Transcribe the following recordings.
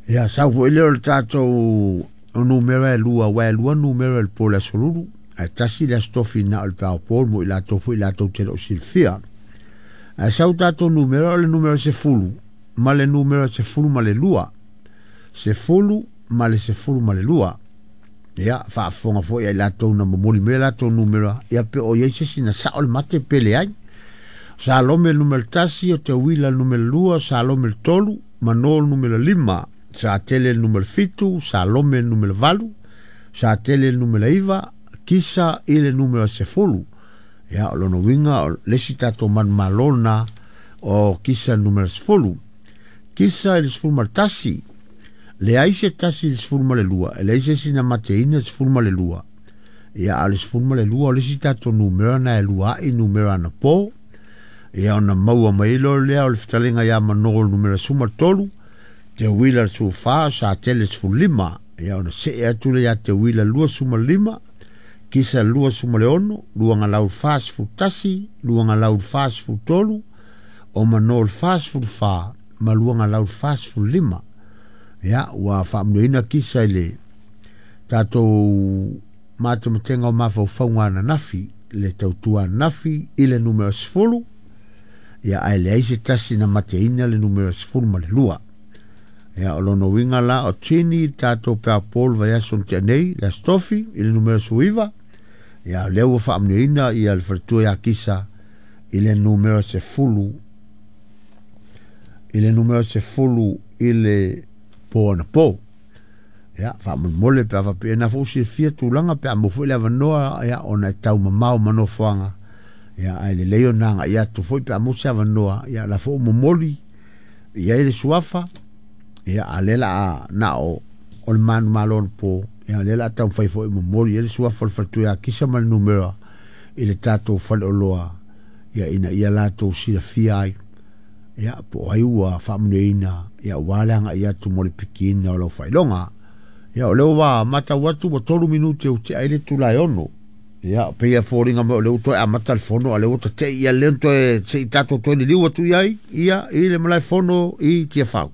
Ia sau foi lea o le tatou numera e lua, aua e lua numera i le po o le Aso Lulu, ae tasi le Aso Tofi na o le taeao mo i latou foi latou te le o silafia. Ae sau tatou numera o le numera 10 ma le numera 12. 10 ma le 12. Ia, faafofoga foi ai latou na momoli mai latou numera, ia pe o iai se isi na sao le mate pe leai. Salome numera 1, o Teuila numera 2, Salome 3, Manol numera 5, Satele numera 7, Salome numera 8, Satele numera 9, Kisa i le numera 10. Ia, o lona uiga o le isi tatou manumalo lena o Kisa numera 10. Kisa i le 11, leai se tasi i le 12, e leai se isi na mateina le 12. Ia, a o le 12 o le isi tatou numera na e lua ai numera anapo. Ia, ona maua mai loa lea o le fetalaiga ia Manolo numera 13, Teuila le 14, Satele 15. Ia, ona see atu lea ia Teuila 25, Kisa 26, Luagalau 41, Luagalau 43, o Manolo 44, ma Luagalau 45. Ia, ua faamanuiaina Kisa i le tatou matematega o mafaufauga ananafi, le tautua ananafi i le numera 10. Ia, ae leai se tasi na mateina le numera 12. Ia, o lona uiga la o Tini tatou peapol vaiaso na tea nei, le Aso Tofi i le numera 19. Ia, o lea ua faamanuiaina ia le faletua ia Kisa i le numera 10, i le numera 10 i le po anapo. Ia, faamolemole pe a faapea na foi silafia tulaga pe a maua foi le avanoa, ia, ona e taumamao ma nofoaga. Ia, ae lelei ona agai atu foi pe a maua se avanoa, ia, la foi momoli i ai le suafa. Ia, a lea la a na o le manumalo anapo, ia, lea la a taumafai foi momoli i ai le suafa o le faletua ia Kisa ma le numera i le tatou faleoloa, ia, ina ia latou silafia ai, ia, po o ai ua faamanuiaina, ia, aua le agai atu mo le pikiina o lau faailoga. Ia, o lea ua matau atu ua 3 minute ua tea ai le itula e 6. Ia, pei e foliga mai o lea ua toe amata le fono, a lea ua tatei ia lea toe se i tatou toe liliu atu i ai, ia, i le malae fono i Tiafau.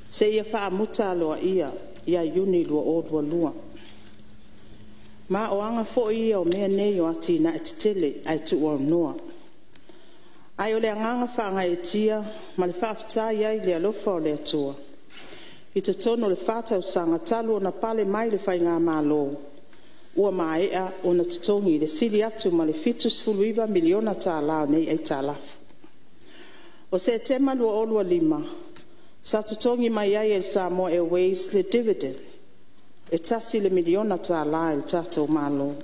Seia faamuta aloaia ia Iuni 2022. Ma o aga foi ia o mea nei o atinae tetele ae tuuaunoa. Ae o le agaga faagaeetia ma le faafetai ai i le alofa o le Atua i totonu o le 4 tausaga talu ona pale mai le Faigamalo, ua maea ona totogi le sili atu ma le $79 miliona o nei aitalafu. O Setema 2025 sa totogi mai ai e le Samoa Airways le dividend e $1 miliona i le tatou Malo.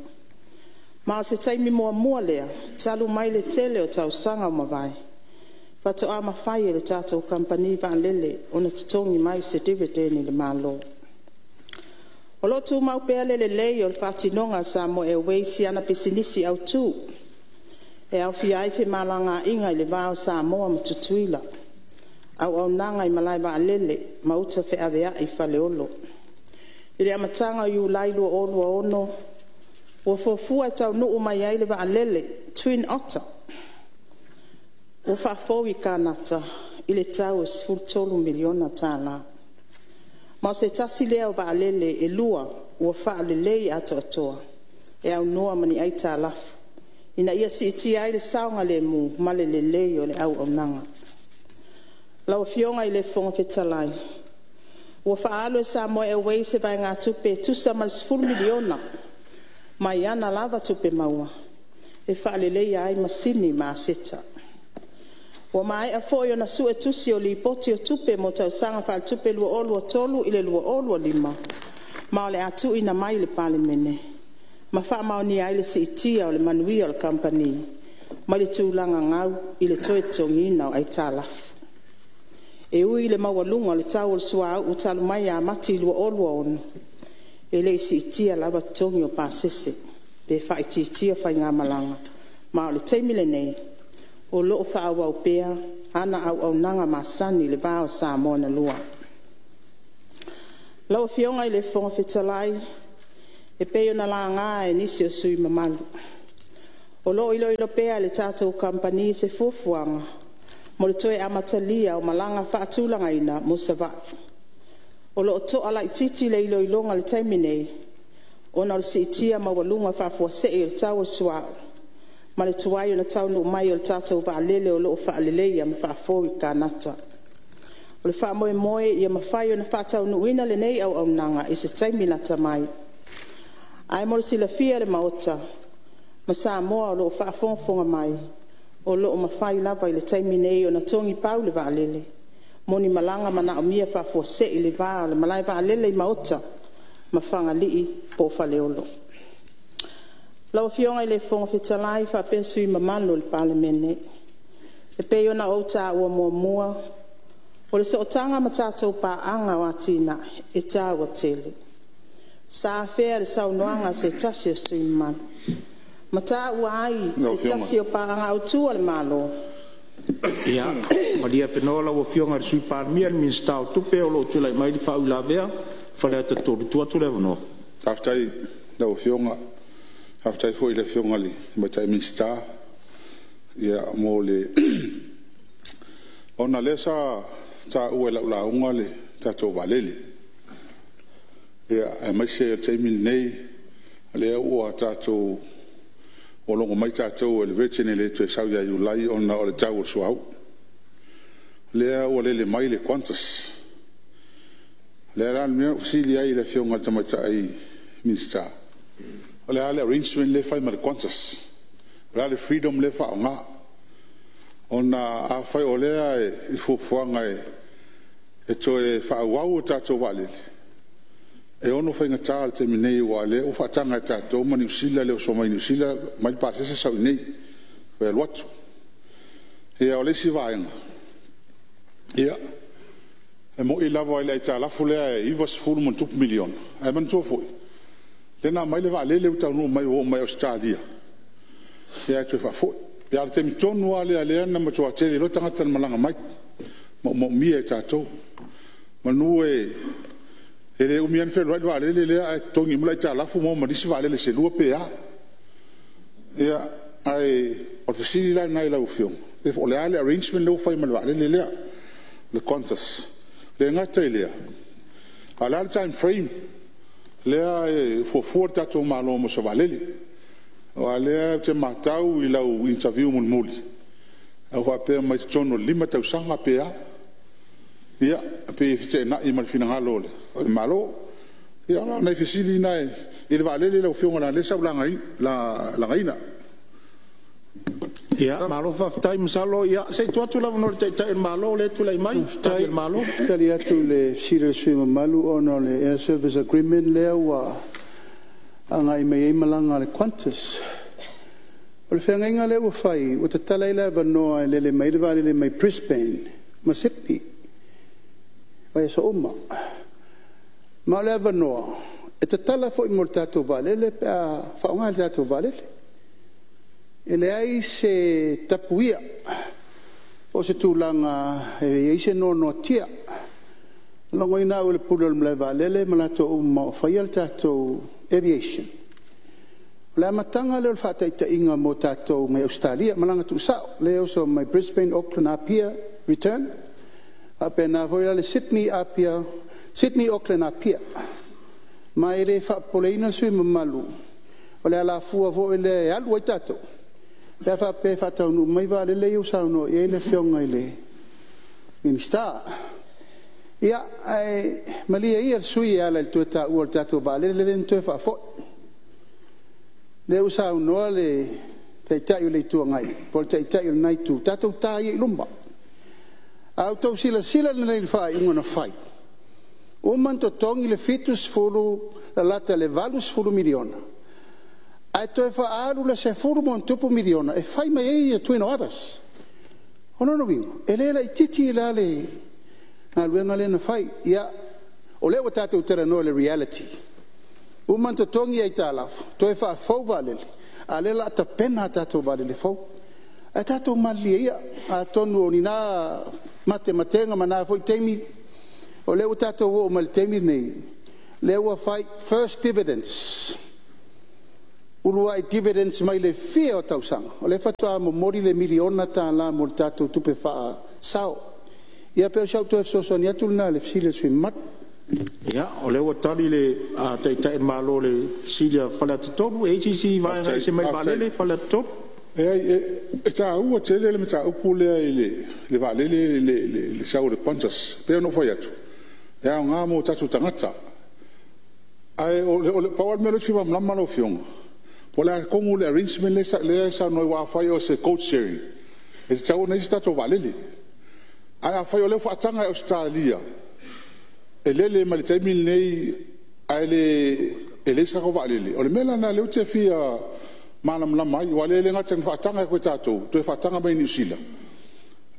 Ma o se taimi muamua lea talu mai le tele o tausaga ua mavae, faatoa mafai e le tatou Kamupani vaalele ona totogi mai se dividend i le Malo. O lo o tumau pea le lelei o le faatinoga a le Samoa Airways i ana pisinisi autu, e aofia ai femalagaiga i le va o Samoa ma Tutuila, auaunaga i malae vaalele ma uta feaveai i Faleolo. I le amataga o Iulai 2026, ua fuafua e taunuu mai ai le vaalele Twin Otter, ua faafou i Kanata i le tau e $13 miliona. Ma o se tasi lea o vaalele e lua ua faalelei atoatoa e aunoa ma ni aitalafu, ina ia siitia ai le saogalemu ma le lelei o le auaunaga. Lau Afioga i le Fofoga Fetalai, Ua faaalu e le Samoa Airways se vaegatupe e tusa ma le $10 miliona mai ana lava tupe maua e faaleleia ai masini ma aseta. Ua maea foi ona suetusi o Lipoti o Tupe mo tausaga faaletupe 2023/2025 ma o le a tuuina mai i le Palemene ma faamaonia ai le siitia o le manuia o le Kamupani mai le tulaga gau i le toe totogiina o aitalafu. E ui i le maualuga o le tau o le suauu talu mai ia Mati 2026, e le i siitia lava totogi o pasese pe faaitiitia faigamalaga, ma o le taimi lenei, o lo o faaauau pea ana auaunaga masani i le va o Samoa na lua. Lau Afioga i le Fofoga Fetalai, e pei ona laga e nisi o sui usufono mamalu, O lo'o iloilo pea e le tatou Kamupani se fuafuaga mo le toe amatalia o malaga fa'atulagaina mo Savaii. O lo'o to'a laitiiti le iloiloga i le taimi nei, ona o le si'itia maualuga faafuasei o le tau o le suauu, ma le tuai ona taunu'u mai o le tatou vaalele o lo'o fa'aleleia ma fa'afou i Kanata. O le faamoemoe ia mafai ona faataunuuina lenei auaunaga i se taimi lata mai. Ae mo le silafia e le Maota ma Samoa o lo'o faafogafoga mai, o lo'o mafai lava i le taimi nei ona togipau le vaalele mo ni malaga manaomia faafuasei i le va o le malaevaalele i Maota ma Fagalii poo Faleolo. Lau Afioga i le Fofoga Fetalai faapea Sui mamalu o le Palemene, E pei ona ou ta'ua muamua, o le sootaga ma tatou paaga o atinae e taua tele. Sa afea i le saunoaga a se tasi o sui usufono mamalu, ma ta'ua ai se tasi o paaga autu a le Malo. Ia malie afenoa lau Afioga i le Sui Palemia, le Minisita o Tupe, o lo o tulai mai le faauilavea a Faleata 3. E tuu atu le avanoa. Faafetai i lau Afioga, faafetai foi i le Afioga i le Tamaitai Minisita mo le… Ona o lea sa taua i lau lauga le tatou vaalele, aemaise o le taimi lenei o lea ua tatou logo mai tatou e le Virgin e le toe sau ia Iulai ona o le tau o le suauu. O lea ua lele mai le Qantas. O le a la le mea na ou fesili ai i le Afioga i le Tamaitai Minisita, o le a le arrangement lea e fai ma le Qantas? O le a le freedom lea e faaaoga? Ona afai o lea e i fuafuaga e toe faaauau a tatou vaalele, e ono faigata i le taimi nei aua o lea ua faataga e tatou ma Niu Sila le oso mai Niu Sila aumai le pasese sau i inei toe alu atu. Ia o le isi vaega, e moni lava i le aitalafu lea e $90+ miliona, ae manatua foi, lea na aumai le vaalele ua taunuu mai ua oo mai Ausetalia, ae toe faafoi. A o le taimi tonu lava lea na matua toatele ai loa tagata na malaga mai, maumaumia e tatou. Meamanu e le umi lava ona fealuai le vaalele lea ae totogi uma le aitalafu maua ma nisi vaalele se lua pe a. Ia, ae o le fesili la lena i lau Afioga, po o le a le arrangement lea ua fai ma le vaalele lea le Qantas. E le gata i lea, a o le a le time frame lea e fuafua le tatou Malo mo se vaalele? Aua o lea ou te matau i lau interview mulimuli na e faapea mai i totonu o le 5 tausaga pe a. Ia, e pei e feteenai ma le finagalo o le Malo. Ia o nai fesili na i le vaalele lau Afioga leaga o lea sa ou lagaina. Ia malo faafetai, masalo se i tuu atu le avanoa i le Taitai o le Malo lea e tulai mai e tali a le Malo. Faafetai. E tali atu i le fesili a le sui usufono mamalu ona o le Air Service Agreement lea ua agai mai ai malaga a le Qantas. O le feagaiga lea ua fai ua tatala ai le avanoa e lele mai ai le vaalele mai Brisbane ma Sydney i vaiaso uma. Ma o le avanoa e tatala foi mo le tatou vaalele pe a faaaoga e le tatou vaalele. E leai se tapuia po o se tulaga e i ai se noanoatia. Na logoina au e le Pule o le malaevaalele ma latou uma o faia le tatou aviation, o le amataga lea o le faataitaiga mo tatou mai Ausetalia, malaga tuusao lea e oso mai Brisbane Auckland Apia return, faapena foi la le Sydney Auckland Apia. Ma e le faapopoleina le sui usufono mamalu o le alafua foi lea e alu ai tatou pe a faapea e faataunuu mai vaalele ia ua saunoa i ai le Afioga i le Minisita. Ia, ae malie ia le sui usufono e ala i le toe taua o le tatou vaalele lea na toe faafoi. Lea ua saunoa le Taitai o le Itu Agai po o le Taitai o lena Itu, tatou ta ia i luma. A outou silasila lelei i le faaiuga na fai, ua uma ona totogi le 70 lalata i le $80 miliona ae toe faaalu le $10+ miliona e fai mai ai Twin Otters. O lona uiga e le laitiiti la le galuega lea na fai. Ia, o lea ua tatou talanoa i le reality, uma ona totogi aitalafu, toe faafou vaalele, a o lea o le a tapena a tatou vaalele fou. Ae tatou malilie ia, atonu o ni na matematega ma na foi taimi, o lea ua tatou oo mai i le taimi lenei, lea ua fai, first dividends. Uluai dividends mai le fia o tausaga, o lea faatoa momoli le $1 miliona mo le tatou tupe faasao. Ia pei o si au toe fesoasoani atu lena i le fesili a le sui usufono mamalu. Ia, o lea ua tali le Taitai o le Malo i le fesili a Faleata 3. E i ai se isi vaega e ese mai le vaalele Faleata 3? Leai, e taua tele le mataupu lea i le vaalele, le sau o le Qantas. E pei ona ou fai atu, e aoga mo tatou tagata. Ae pau lava le mea lea ou te fia malamalama lau Afioga, po o le a tonu le arrangement lea e saunoa ai, aua afai o se code sharing, e tatau ona i ai se tatou vaalele. Ae afai o lea ua faataga e Ausetalia e lele mai le taimi lenei ae leai se tatou vaalele, o le mea la lena o lea ou te fia malamalama ai, aua o lea e le gata ina faataga atu e tatou, toe faataga mai e Niu Sila.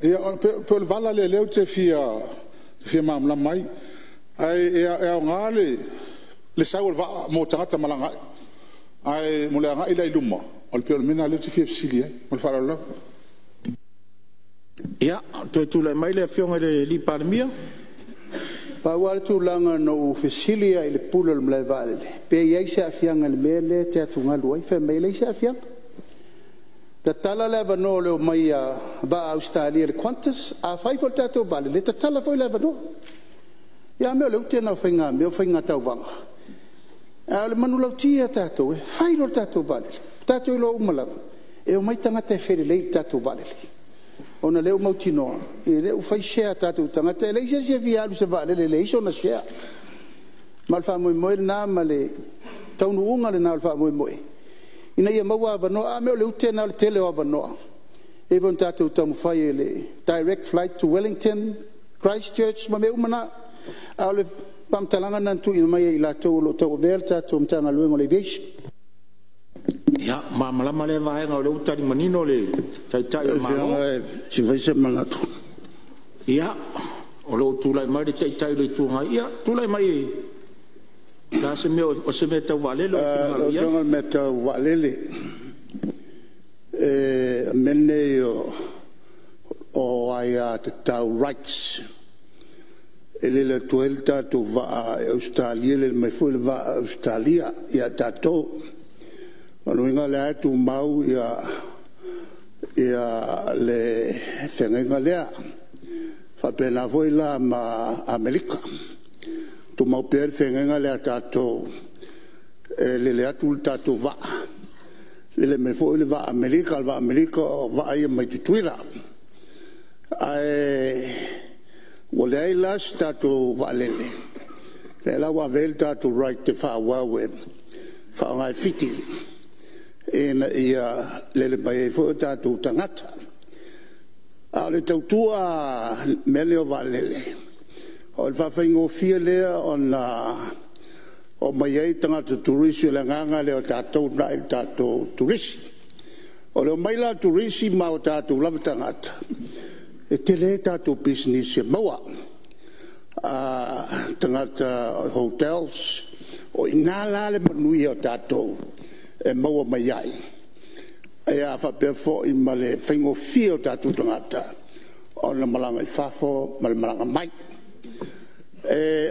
Ia pei o le vala lea o lea ou te fia malamalama ai. Ae aoga le sau o le vaa mo tagata malaga ai, ae mo le agai la i luma, pei o le mea lena o lea ou te fia fesili ai. Ma le faaaloalo lava. Ia, toe tulai mai le Afioga i le Palemia. Pau lava le tulaga na ou fesili ai i le Pule o le malae vaalele, pe i ai se aafiaga i le mea lea e te atugalu ai. Fai mai e leai se aafiaga. Tatala le avanoa o le omai a vaa a Ausetalia, le Qantas. Afai foi o le tatou vaalele, e tatala foi le avanoa. Ia a mea o le ute lena o faigamea o faiga tauvaga. A o le manulauti a tatou, e fai loa le tatou vaalele, ua tatou iloa uma lava e omai tagata e felelei i le tatou vaalele, ona o lea ua mautinoa o lea ua fai share a tatou tagata. E leai se isi e fia alu i se vaalele e leai sona share. Ma o le faamoemoe lena ma le taunuuga lena o le faamoemoe ina ia maua avanoa. A mea o le ute lena o le tele o avanoa, e pei foi ona tatou taumafai i le direct flight to Wellington, Christchurch ma mea uma na. A o le faamatalaga lena na tuuina mai e i latou o lo o tauavea le tatou Matagaluega o le Aviation. Ia, ua malamalama lea vaega o lea ua tali manino le Taitai o le Malo. Se i fai se manatu. Ia, o lo o tulai mai le Taitai o le Itu Agai. Ia, tulai mai, o le a se mea, o se mea tau vaalele ua e finagalo i ai? Lau Afioga o le mea tau vaalele, o mea nei o aiatatau, rights, e lele atu ai le tatou vaa i Ausetalia, lele mai foi le vaa a Ausetalia ia tatou. O lona uiga o lea lava e tumau le feagaiga lea. E faapena foi la ma Amerika, tumau pea le feagaiga lea a tatou, e lele atu le tatou vaa, lele mai foi le vaa a Amerika. O le vaa a Amerika o vaa ia mai Tutuila. Ae ua leai la se tatou vaalele, lea la ua ave ai le tatou right e faaauau e faaaoga e Fiti ina ia lele mai ai foi o tatou tagata. A o le tautua i mea nei o vaalele, o le faafaigofie lea ona omai ai tagata turisi. O le agaga lea o tatou e uunai le tatou turisi. O le omai la o turisi ma o tatou lava tagata, e tele ai tatou pisinisi e maua, tagata hotels. O i ina la le manuia o tatou e maua mai ai, faapea foi ma le faigofie o tatou tagata ona malaga i fafo ma le malaga mai.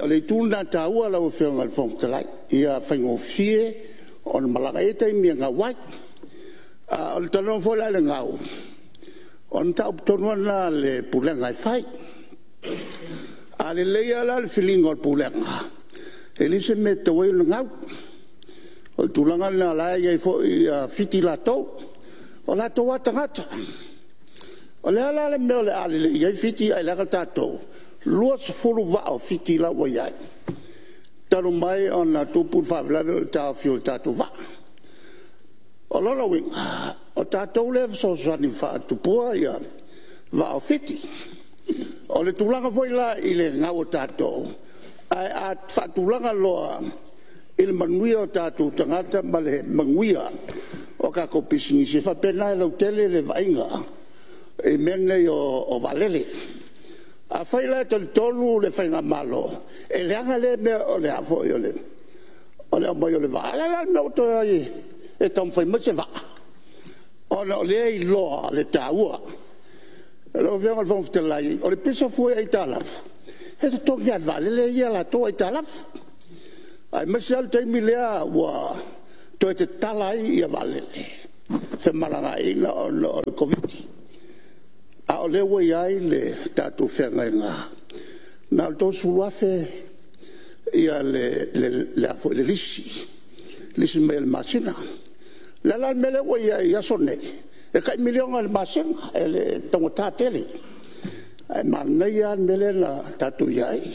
O le itu lena e taua lau Afioga i le Fofoga Fetalai, ia faigofie ona malaga. E i ai taimi e gau ai. A o le talanoa foi la i le gau, o le mataupu tonu lava lena a le Pulega e fai. A lelei lava la le filiga o le Pulega, e leai se mea e tatau ai ona gau. O le tulaga lena o la e i ai foi Fiti latou, o latou lava tagata. O le a la le mea o le a lelei ai Fiti ae leaga tatou? E 20 vaa o Fiti la ua i ai, talu mai ona tupu le faalavelave o le taofi o le tatou vaa. O lona uiga, o tatou lea e fesoasoani e faatupua vaa o Fiti. O le tulaga foi la i le gau o tatou, ae a faatulaga loa i le manuia o tatou tagata ma le manuia o tatou pisinisi, e faapena e lautele le vaaiga i mea nei o vaalele. Afai la e talitonu le faigamalo, e leaga lea mea o le aumai o le vaa, a o le a la le mea ua toe o ai e taumafai mai se vaa, ona o lea e iloa le taua. Lau Afioga i le Fofoga Fetalai, o le pisa fua i aitalafu, e totogi lava e le vaalele ia a latou aitalafu, aemaise lava le taimi lea ua toe tatala ai vaalele femalagaaiga ona o le Koviti-19, a o lea ua i ai le tatou feagaiga, na o le $30,000 le lisi, lisi mai i le masina. O le a la le mea lea ua i ai i aso nei? E tai $1 miliona i le masina, e taugata tele. Ae manaia lava le mea lea na tatou i ai,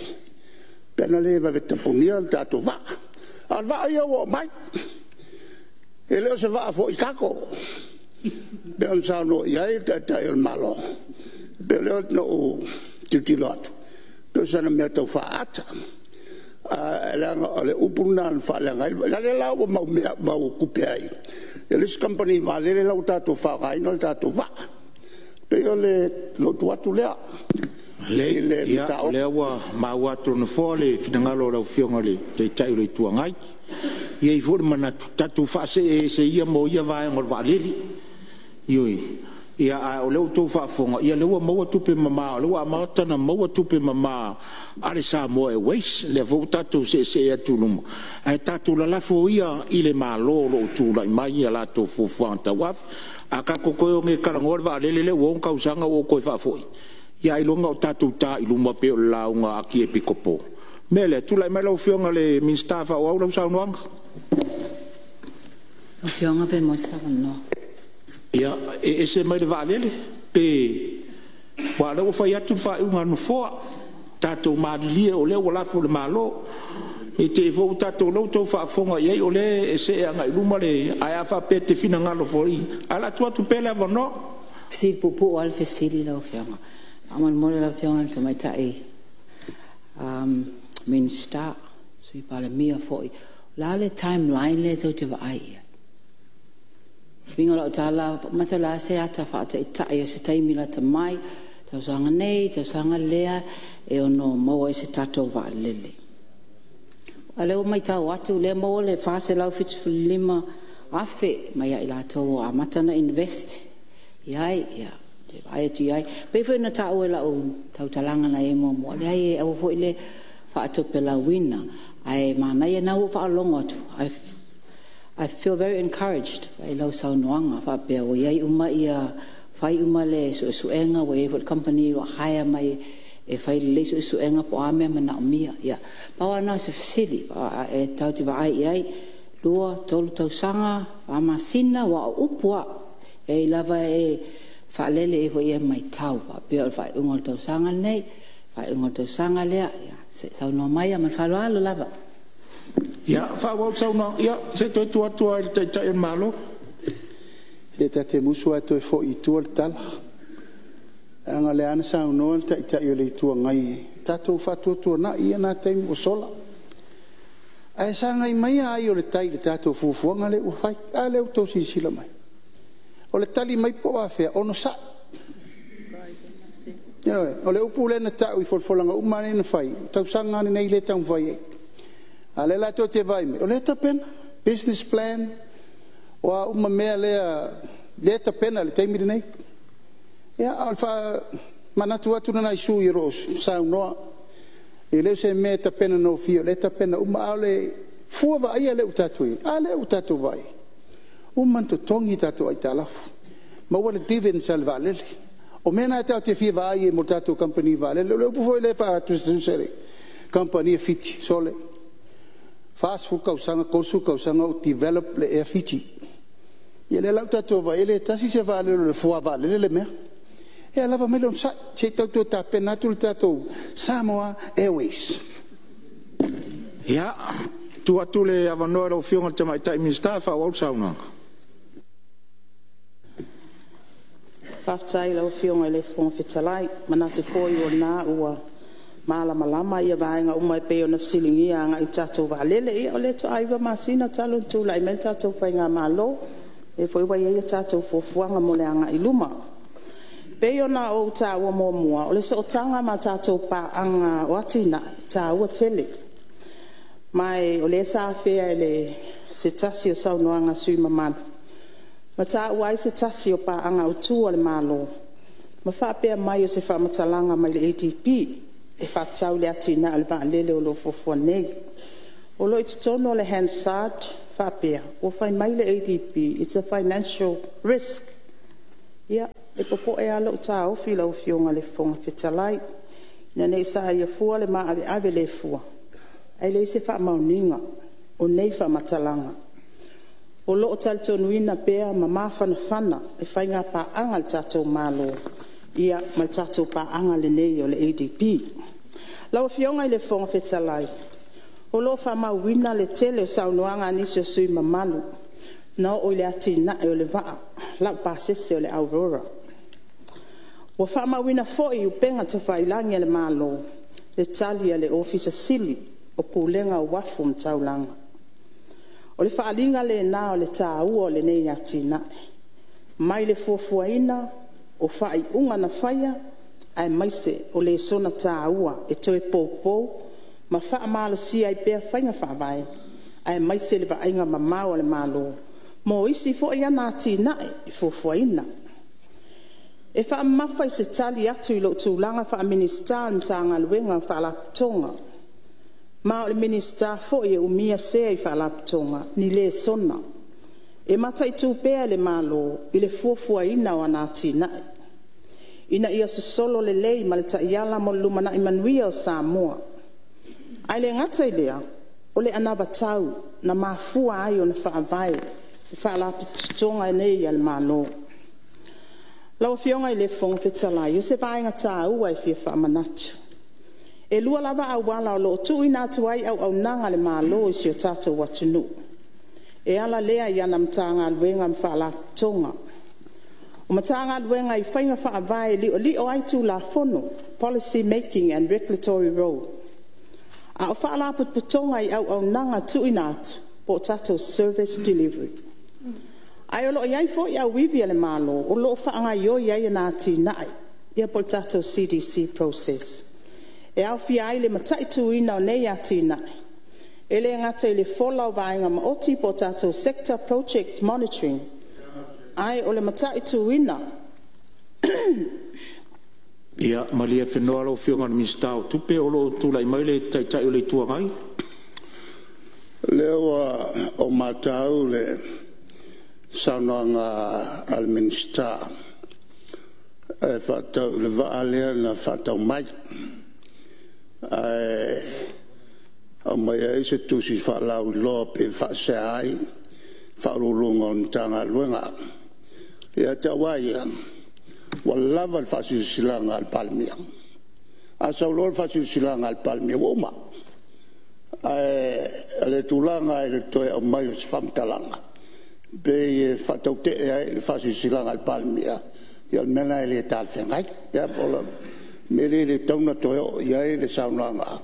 pe ana le vave tapunia le tatou vaa. A o le vaa ia ua oo mai, e le o se vaa foi cargo pei ona saunoa i ai le Taitai o le Malo. E pei o lea na ou tilotilo atu, pei o sana mea tau faaata, ae leaga o le upu lena na faaleaga ai le vaa. O lea la ua mau tupe ai e le isi kamupani vaalele la ua tatou faaaogaina le tatou vaa. E pei o lou tu atu lea i le mataupu. O lea ua maua atu e le Nofoa le finagalo o lau Afioga i le Taitai o le Itu Agai. E i ai foi le manatu, tatou faasee ese ia ma ia vaega o le vaalele. Ioe. A o lea ua outou faafofoga, o lea ua maua tupe mama o lea ua amata ona maua tupe mama a le Samoa Airways, lea foi ua tatou seesee atu i luma, ae tatou lalafo ia i le Malo o lo o tulai mai a latou fuafuaga tauave. A tatou toe o nei e talanoa le vaalele lea ua 6 tausaga ua ou toe faafoi, ia ailoga o tatou ta i luma pei o le lauga a le Epikopo. O le mea lea, tulai mai lau Afioga i le Minisita e faaauau lau saunoaga. Lau Afioga pe maua se avanoa. Ia, e ese mai le vaalele pe… Aua o lea ua fai atu le faaiuga a le Nofoa, tatou malilie o lea ua lafo i le Malo. Ne i te i foi ua tatou… o lea ua outou faafofoga i ai o lea e see agai i luma le… Ae a faapea e te finagalo foi, ae o le a tuu atu pea le avanoa. Fesili puupuu lava le fesili lau Afioga. Faamolemole lau Afioga i le Tamaitai Minisita, Sui Palemia foi, o le a le timeline lea tou te vaai i ai? Le uiga o lau tala, mata o le a se ata faataitai o se taimi lata mai, tausaga nei, tausaga lea, e ono maua ai se tatou vaalele. A o lea ua matau atu o lea ua maua le $475,000 mai ia i latou ua amata ona invest i ai. Ia, ou te vaai atu i ai. E pei foi ona taua i lau tautalaga na i ai muamua, leai aua foi le faatopelauina, ae manaia o lena ua ou faalogo atu, I feel very encouraged i lau saunoaga faapea ua i ai uma ia, fai uma le suesuega, ua i ai foi le kamupani ua hire mai e fai lelei suesuega po o a mea e manaomia. Ia, pau lava lena o se fesili, e tatou te vaai i ai, 2, 3 tausaga, 4 masina, aua o upu lava, e lava e faalele i ai foi e matau, faapea o le faaiuga o le tausaga lenei, faaiuga o le tausaga lea. Ia, se i saunoa mai ma le faaaloalo lava. Ia, faaauau le saunoaga. Ia, se i toe tuu atu lava i le Taitai o le Malo. Se ta te musu lava e toe foi i tua le tala, leaga o lea lava na saunoa le Taitai o le Itu Agai, tatou faatuatuanai ia na taimi ua sola. Ae sagai mai ai o le tai i le tatou fuafuaga lea ua fai. A lea ua outou silasila mai? O le tali mai po o afea, onosai. Ioe. O le upu lea na tau i folafolaga uma lava lea na fai, o le tausaga lava lenei lea e taumafai ai. A o lea la tou te vaai mai, o lea e tapena, business plan, o a uma mea lea e tapena i le taimi lenei. Ia, a o le faamanatu atu lena i sui usufono o lo o saunoa, e le o se mea e tapena gofie, o lea e tapena uma. A o le fua vaaia lea ua tatou i ai, a lea ua tatou vaai i ai? Ua uma ona totogi tatou aitalafu, maua le dividends a le vaalele. O mea na tatou te fia vaai ai mo le tatou kamupani vaalele. O le upu foi lea e faatusatusa i le kamupani a Fiti, sole, 40 tausaga, 30 tausaga o develop le Air Fiji. Ia lea la ua tatou vaai i ai e le tasi se vaalele o le fuavaalele le mea. Ia lava mai le onosai se i tau toe tapena atu le tatou Samoa Airways. Ia, tuu atu le avanoa i lau Afioga i le Tamaitai Minisita e faaauau le saunoaga. Faafetai i lau Afioga i le Fofoga Fetalai. E manatu foi o lena ua malamalama vaega uma e pei ona fesiligia agai i le tatou vaalele. Ia o lea faatoa 9 masina talu ona tulai mai le tatou faigamalo, o lea foi ua i ai a tatou fuafuaga mo le agai i luma. E pei ona ou taua muamua, o le sootaga ma tatou paaga o atinae, e taua tele. Ma o lea sa afea e se tasi o saunoaga a sui usufono mamalu, ma taua ai se tasi o paaga autu a le Malo ma faapea mai, o se faamatalaga mai le ADB e faatatau i le atinae o le vaalele o lo o fuafua nei. O lo o i totonu o le Hansard faapea, ua fai mai le ADB it's a financial risk. Ia, e popoe lava lou taofi lau Afioga i le Fofoga Fetalai, ina ne i saia fua le maaveave le fua, ae leai se faamaoniga o nei faamatalaga. O lo o talitonuina pea ma mafanafana le faigapaaga a le tatou Malo ma le tatou paaga lenei o le ADB. Lau Afioga i le Fofoga Fetalai, o lo o faamauina le tele o saunoaga a nisi o sui usufono mamalu na oo i le atinae o le vaa laupasese o le Aurora. Ua faamauina foi i upega tafailagi a le Malo le tali a le Ofisa Sili o Pulega o Uafu ma Taulaga. O le faaaliga lena o le taua o lenei atinae, mai le fuafuaina o faaiuga na faia, aemaise o lesona taua e toe poupou ma faamalosia ai pea faiga faavae, aemaise le vaaiga mamao a le Malo mo isi foi ana atinae e fuafuaina. E faamamafa i se tali atu i lou tulaga faa-Minisita o le Matagaluega o Faalapotopotoga, ma o le Minisita foi e umia sea i Faalapotopotoga ni lesona e mataitu pea e le Malo i le fuafuaina o ana atinae, ina ia sosolo lelei ma le taiala mo le lumanai manuia o Samoa. Ae le gata i lea, o le anavatau na mafua ai ona faavae Faalapotopotoga nei a le Malo. Lau Afioga i le Fofoga Fetalai, o se vaega taua e fia faamanatu, e lua lava auala o lo o tuuina atu ai auaunaga a le Malo i si o tatou atunuu, e ala lea i ana Matagaluega ma Faalapotopotoga. O Matagaluega i faiga faavae e liolio ai Tulafono, Policy Making and Regulatory Role. A o Faalapotopotoga i auaunaga tuuina atu, po o tatou service delivery. Ae o lo o i ai foi auivi a le Malo o lo o faagaoioi ai ana atinae po o le tatou CDC process. E aofia ai le mataituina o nei atinae, e le gata i le fola o vaega maoti po o tatou sector projects monitoring, ae o le mataituina… Ia malie lau Afioga i le Minisita o Tupe, o lo o tulai mai le Taitai o le Itu Agai. O lea ua ou matau i le saunoaga a le Minisita e faatatau i le vaa lea na faatau mai, ae aumai ai se tusi faalauiloa pei e faasea ai Ofisa Sili o Pulega o le Matagaluega. Ia te au lava ia, ua lava le faasilasilaga a le Palemia. A sau loa le faasilasilaga a le Palemia, ua uma. Ae o le tulaga i le toe aumai o se faamatalaga pei e faatautee ai le faasilasilaga a le Palemia, ia o le mea lena e le talafeagai. Ia o le mea lea e le tatau ona toe oo i ai le saunoaga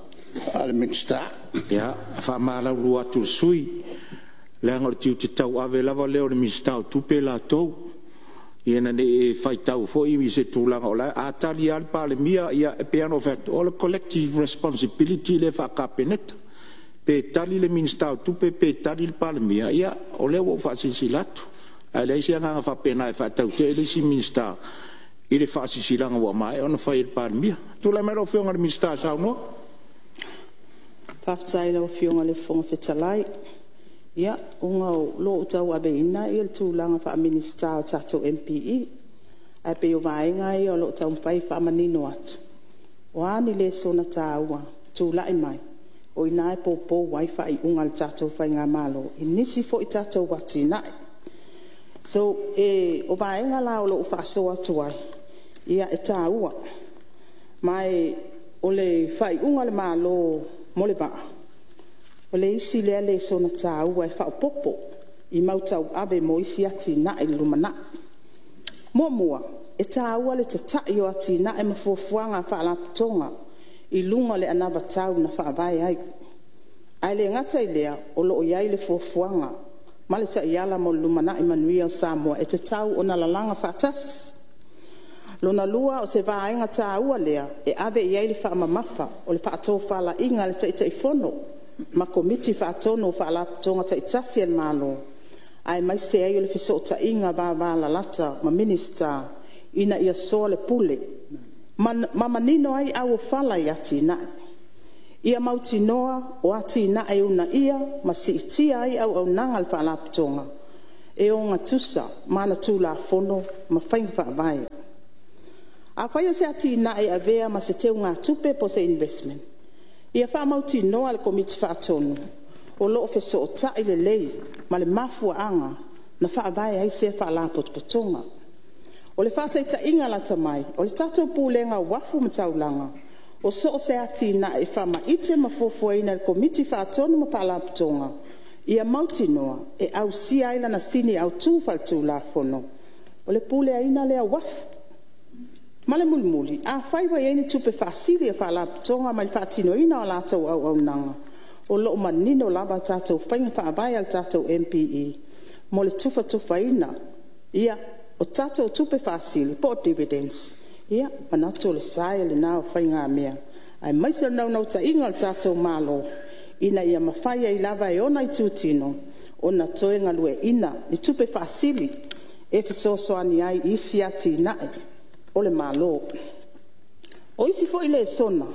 a le Minisita. Ia, e faamalulu atu i le sui usufono, leaga o le tiute tauave lava lea o le Minisita o Tupe latou, ina ne i e faitau foi i se tulaga o la e… A tali lava le Palemia, ia e pei lava ona ou fai atu, o le collective responsibility lea faa-Kapeneta. Pe tali le Minisita o Tupe pe tali le Palemia, ia o lea ua ou faasilasila atu. Ae leai se agaga faapena e faatautee le isi Minisita i le faasilasilaga ua maea ona fai e le Palemia. Tulai mai lau Afioga i le Minisita e saunoa. Faafetai i lau Afioga i le Fofoga Fetalai. Ia, ona o lo o tauaveina le tulaga faa-Minisita o le tatou MPE, ae pei o vaega ia o lo o taumafai e faamanino atu, o a ni lesona taua e tulai mai, o i ina e poupou ai faaiuga a le tatou faigamalo i nisi foi tatou atinae. So, o vaega la o lo o faasoa atu ai, e taua. Ma o le faaiuga a le Malo mo le vaa, o le isi lea lesona taua e faaopoopo i mau tauave mo isi atinae i le lumanai. Muamua, e taua le tatai o atinae ma fuafuaga a Faalapotopotoga i luga o le anavatau na faavae ai. Ae le gata i lea, o lo o i ai le fuafuaga ma le taiala mo le lumanai manuia o Samoa e tatau ona lalaga faatasi. Lona lua o se vaega taua lea e ave i ai le faamamafa o le faatofalaiga a le Taitaifono ma Komiti Faatonu o Faalapotopotoga taitasi a le Malo, aemaise ai o le fesootaiga vavalalata ma Minisita ina ia soalepule ma manino ai auofala i atinae. Ia mautinoa o atinae e uunaia ma siitia ai auaunaga a le Faalapotopotoga e ogatusa ma ana Tulafono ma Faiga Faavae. Afai o se atinae e avea ma se teugatupe po o se investment, ia faamautinoa e le Komiti Faatonu o lo o fesootai lelei ma le mafuaaga na faavae ai sea Faalapotopotoga. O le faataitaiga lata mai, o le tatou Pulega o Uafu ma Taulaga, o so o se atinae e faamaite ma fuafuaina e le Komiti Faatonu ma Faalapotopotoga, ia mautinoa e ausia ai lana sini autu faale-tulafono, o le puleaina lea o uafu. Ma le mulimuli, afai ua i ai ni tupe faasili a Faalapotopotoga mai le faatinoina o a latou auaunaga, o lo o manino lava a tatou faiga faavae a le tatou MPE mo le tufatufaina o tatou tupe faasili po o dividends. E manatu o le sae lena o faigamea, aemaise o le naunautaiga o le tatou Malo, ina ia mafai ai lava e ona itutino ona toe galueaiina ni tupe faasili e fesoasoani ai i isi atinae o le Malo. O isi foi lesona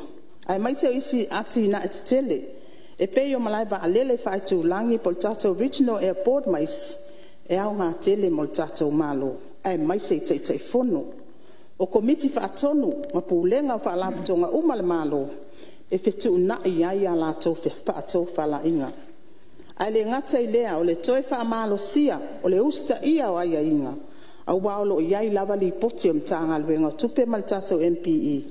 aemaise o isi atinae tetele e pei o malae vaalele faaitulagi po o le tatou regional airport ma isi, e aoga tele mo le tatou Malo aemaise i Taitaifono. O Komiti Faatonu ma Pulega o Faalapotopotoga uma a le Malo, e fetuunai ai a latou faatofalaiga. Ae le gata i lea o le toe faamalosia o le usitaia o aiaiga, aua o lo o i ai lava lipoti a le Matagaluega o Tupe ma le tatou MPE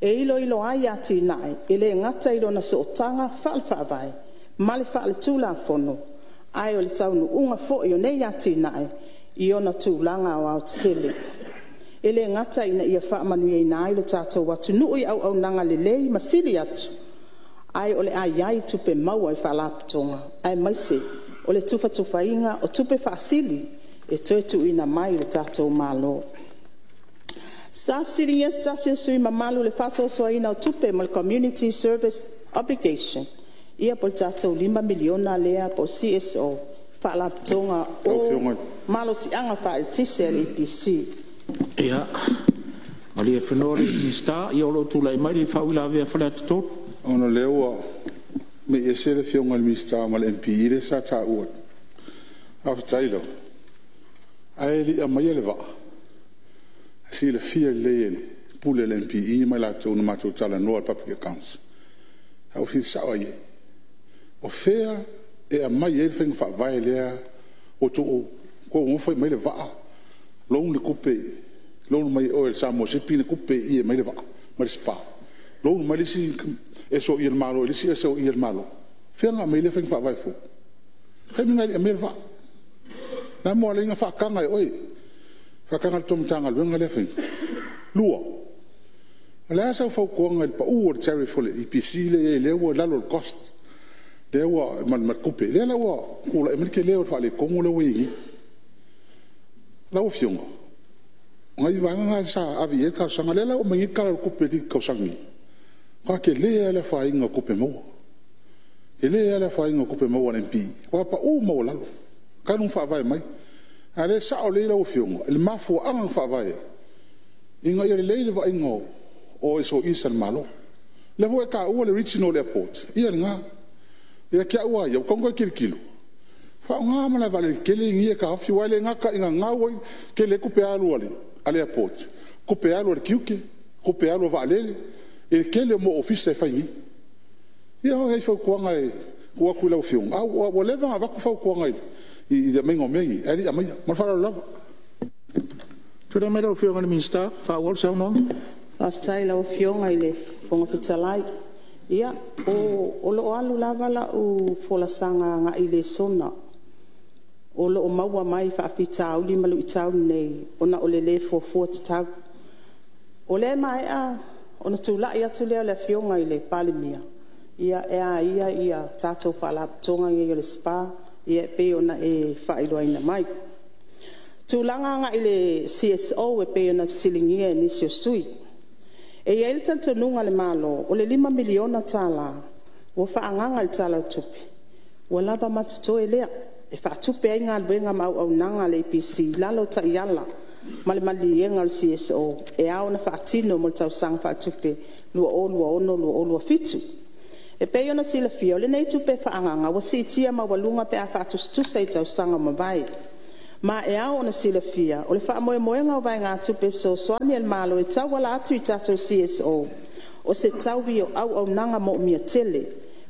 e iloilo ai atinae, e le gata i lona sootaga faale-Faavae ma le faale-tulafono, ae o le taunuuga foi o nei atinae i ona tulaga aoaotetele. E le gata ina ia faamanuiaina ai lo tatou atunuu i auaunaga lelei ma sili atu, ae o le a i ai tupe maua i Faalapotopotoga, aemaise o le tufatufaina o tupe faasili e toe tuuina mai i le tatou Malo. Sa fesiligia se tasi o sui usufono mamalu i le faasoasoaina o tupe mo le Community Service Obligation po o le tatou $5 miliona lea po o le CSO Faalapotopotoga o Malosiaga Faaeletise a le EPC. Ia, malie le Minisita, o lo o tulai mai le faauilavea a Faleata 3. Ona o lea ua mei ese le Afioga i le Minisita ma le MPE lea sa taua. Faafetai lava, ae le i aumaia le vaa, e silafia lelei e le Pule a le MPE ma i latou na matou talanoa i le Public Accounts, sa ou fesili sao lava i ai, o fea e aumai ai le faiga faavae lea ua outou o fai mai le vaa, loan le tupe, loan mai e oe le Samoa Shipping le tupe i i e aumai ai le vaa ma le SPA, loan mai le isi SOE a le Malo i le isi SOE a le Malo. O fea na aumai ai lea faiga faavae fou? O le taimi lena e le i aumaia le vaa. O le a le mea ua ala ai ona faataga e oe, faataga e la outou Matagaluega lea faiga? Lua, o le a sau fautuaga i le pau o le tariff o le EPC lea e i ai lea ua i lalo o le cost ma le tupe, lea la ua tulai mai le tele o le faaletonu lea ua i ai nei. Lau Afioga, o nai vaega na sa ave i ai le talosaga. O lea la ua aumai nei le Tala o le Tupe i le tausaga nei, ua matua tele lava le afaina o tupe maua. Tele lava le afaina o tupe maua a le MPE, matua pau maualalo talu ona faavae mai. A o lea e sao lelei lau Afioga i le mafuaaga na faavae ai, ina ia lelei le vaaiga o SOEs a le Malo. O lea foi ua e taua le Regional Airport, ia lena. Ia te au lava ia, ua tatau ona toe tilotilo, faaaoga malaevaalele tetele nei e taofi. Aua e le gata ina gau ai, tele ai tupe alu a le airport, tupe alu a le tiute, tupe alu a vaalele i le tele o mau ofisa e fai nei. Ia o nai fautuaga e tuu atu i lau Afioga, ae ua leva ona avatu fautuaga i le aumaiga o mea nei, ae le i aumaia. Ma le faaaloalo lava. Tulai mai lau Afioga i le Minisita e faaauau le saunoaga. Faafetai i lau Afioga i le Fofoga Fetalai. Ia, o lo o alu lava lau folasaga agai i lesona o lo o maua mai i faafitauli ma luitau nei ona o le le fuafua tatau. O lea e maea ona tulai atu lea o le Afioga i le Palemia, e a ia tatou Faalapotopotoga nei o le SPA e pei ona e faailoaina mai. O tulaga agai i le CSO e pei ona fesiligia e nisi o sui usufono. E i ai le talitonuga a le Malo, o le $5 miliona ua faaagaga i le Tala o le Tupe, ua lava ma totoe lea e faatupe ai galuega ma auaunaga a le EPC i lalo o taiala ma le maliliega a le CSO e ao ona faatino mo le tausaga faaletupe 2026/2027. E pei ona silafia o lenei tupe faaagaga ua siitia maualuga pe a faatusatusa i tausaga ua mavae. Ma e ao ona silafia o le faamoemoega o vaegatupe fesoasoani a le Malo e tauala atu i tatou CSO, o se taui o auaunaga moomia tele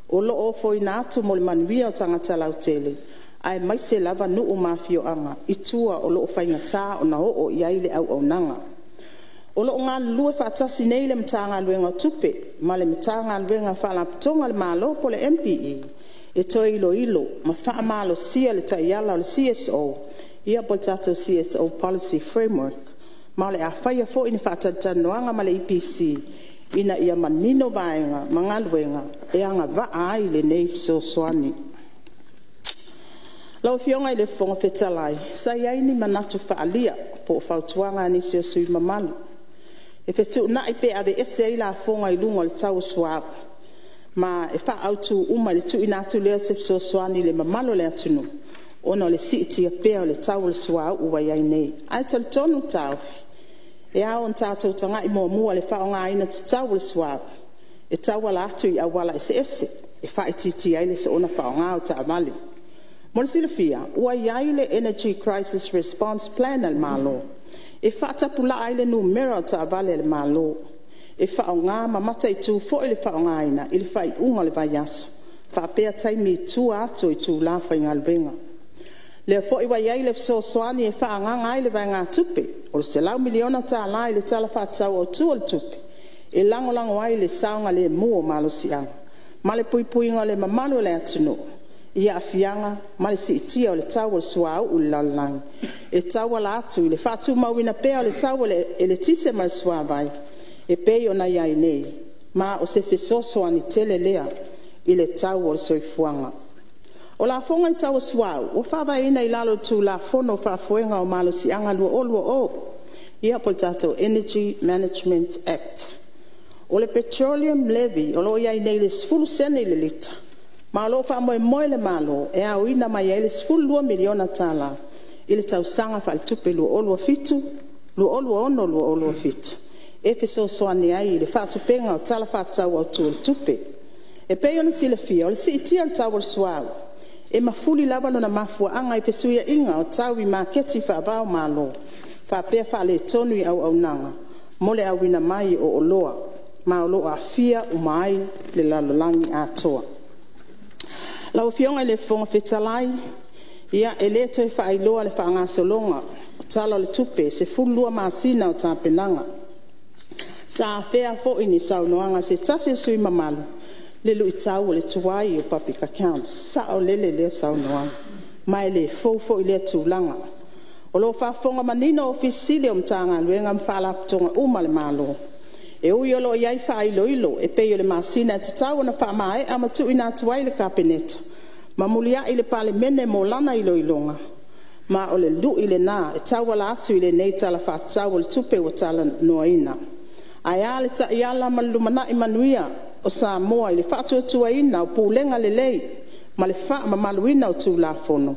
o loo ofoina atu mo le manuia o tagata lautele, aemaise lava nuu ma afioaga i tua o loo faigata ona oo iai le auaunaga. O loo galulue faatasi nei le Matagaluega o Tupe ma le Matagaluega o Faalapotopotoga a le Malo poo le MPE e toe iloilo ma faamalosia le taiala o le CSO poo le tatou CSO Policy Framework. Ma o le a faia foi ni faatalatalanoaga ma le EPC ina ia manino vaega ma galuega e agavaa ai lenei fesoasoani. Lau Afioga i le Fofoga Fetalai, sa iai ni manatu faaalia poo fautuaga a nisi o sui usufono mamalu e fetuunai pe aveese ai lafoga i luga o le tau o le suauu ma e faaautu uma i le tuuina atu lea o se fesoasoani i le mamalu o le atunuu ona o le siitia pea o le tau o le suauu ua iai nei. Ae talitonu le taofi, e ao ona tatou tagai muamua i le faaaogaina tatau o le suauu e tauala atu i auala eseese e faaitiitia ai le soona faaaoga o taavale. Mo le silafia ua iai le Energy Crisis Response Plan a le Malo e faatapulaa ai le numera o taavale a le Malo e faaaoga ma mataitu foi le faaaogaina i le faaiuga o le vaiaso faapea taimi i tua atu o itula faigaluega. O lea foi ua iai le fesoasoani e faaagaga ai le vaegatupe o le $100 miliona i le Tala Faatatau Autu o le Tupe e lagolago ai i le saogalemu o malosiaga ma le puipuiga o le mamalu o le atunuu i aafiaga ma le siitia o le tau o le suauu i le lalolagi, e tauala atu i le faatumauina pea o le tau o le eletise ma le suavai e pei ona iai nei, ma o se fesoasoani tele lea i le tau o le soifuaga. O lafoga i le tau o le suauu ua faavaeina i lalo o le Tulafono o Faafoega o Malosiaga 2020 poo le tatou Energy Management Act. O le petroleum levy o loo iai nei i le 10sene i le lita ma o loo faamoemoe le Malo e aoina mai ai le $12 miliona i le tausaga faaletupe 2026/2027 e fesoasoani ai i le faatupega o Tala Faatatau Autu o le Tupe. E pei ona silafia o le siitia o le tau o le suauu e mafuli lava lona mafuaaga i fesuiaiga o tau i maketi faavaomalo faapea faaletonu i auaunaga mo le auina mai o oloa ma o loo aafia uma ai le lalolagi atoa. Lau Afioga i le Fofoga Fetalai, e le toe faailoa le faagasologa o Tala o le Tupe 12 masina o tapenaga. Sa afea foi i saunoaga a se tasi o sui usufono mamalu le luitau o le tuai o public accounts. E saolele lea saunoaga ma e le fou foi lea tulaga. O loo faafofoga manino Ofisa Sili o Matagaluega ma Faalapotopotoga uma a le Malo. E ui o loo iai faailoilo e pei o le masina e tatau ona faamaea ma tuuina atu ai i le Kapeneta ma muliai i le Palemene mo lana iloiloga, ma o le lui lena e tauala atu i lenei Tala Faatatau o le Tupe ua talanoaina. Ae a le taiala mo le lumanai manuia o Samoa i le faatuatuaina o pulega lelei ma le faamamaluina o Tulafono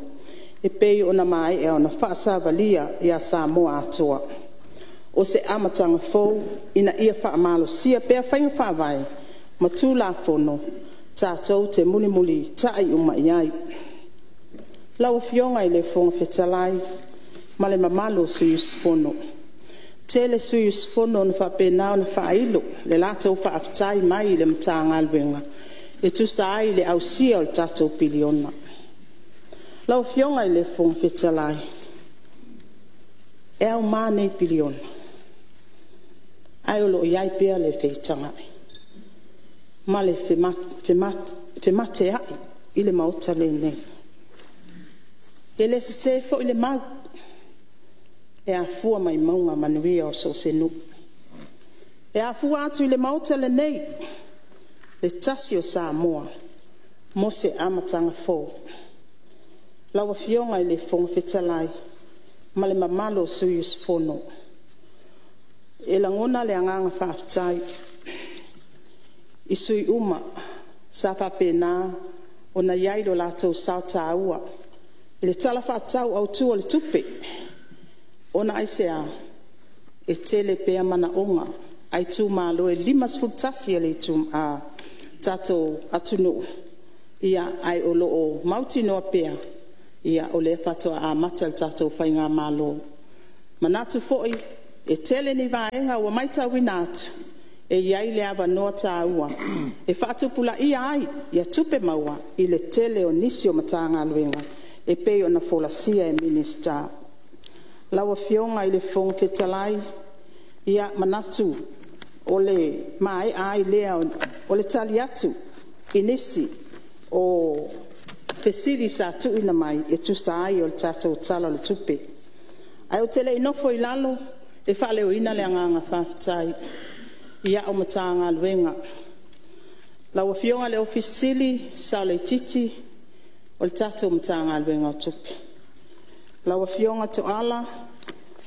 e pei ona maea ona faasavalia ia Samoa atoa. O se amataga fou ina ia faamalosia pea faiga faavae ma Tulafono tatou te mulimulitai uma i ai. Lau Afioga i le Fofoga Fetalai ma le mamalu o sui usufono, tele sui usufono na faapena ona faailo le latou faafetai mai i le Matagaluega e tusa ai o le ausia o le tatou piliona. Lau Afioga i le Fofoga Fetalai, e auma nei piliona ae o loo iai pea le feitagai ma le femateai i le Maota lenei. E le sese foi le mau e afua mai mauga manuia o so o se nuu. E afua atu i le Maota lenei le tasi o Samoa mo se amataga fou. Lau Afioga i le Fofoga Fetalai ma le mamalu o sui usufono, e lagona le agaga faafetai i sui usufono uma sa faapena ona i ai lo latou sao taua i le Tala Faatatau Autu o le Tupe. Ona aisea? E tele pea manaoga a itumalo e 51 a le tatou atunuu, ae o lo o mautinoa pea o lea faatoa amata le tatou Faigamalo. E manatu foi e tele ni vaega ua maitauina atu e i ai le avanoa taua e faatupulaia ai tupe maua i le tele o nisi o Matagaluega e pei ona folasia e Minisita. Lau Afioga i le Fofoga Fetalai, e manatu o le maea ai lea o le tali atu i nisi o fesili sa tuuina mai e tusa ai o le tatou Tala o le Tupe. Ae ou te le i nofo i lalo e faaleoina le agaga faafetai i au Matagaluega. Lau Afioga i le Ofisa Sili o Pulega, Saoleitiiti o le tatou Matagaluega o Tupe, lau Afioga Toala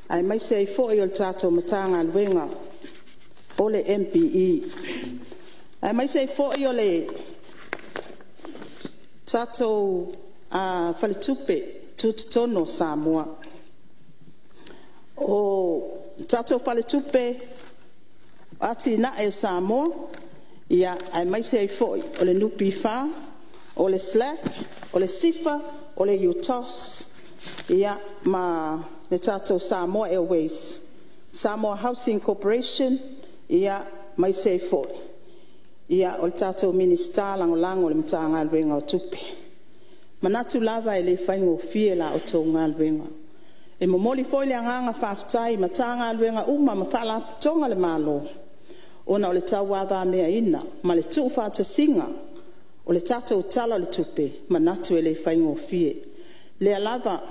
aemaise ai foi o le tatou Matagaluega o le MPE, aemaise ai foi o le tatou Faletupe Tutotonu o Samoa. O le tatou Faletupe o Atinae o Samoa aemaise ai foi o le NPF, o le SLAC, o le SIFA, o le UTOS ma le tatou Samoa Airways, Samoa Housing Corporation aemaise ai foi o le tatou Minisita Lagolago o le Matagaluega o Tupe. E manatu lava e le faigofie la outou galuega. E momoli foi le agaga faafetai i Matagaluega uma ma Faalapotopotoga a le Malo ona o le tauavameaina ma le tuufaatasiga o le tatou Tala o le Tupe, e manatu e le faigofie. O lea lava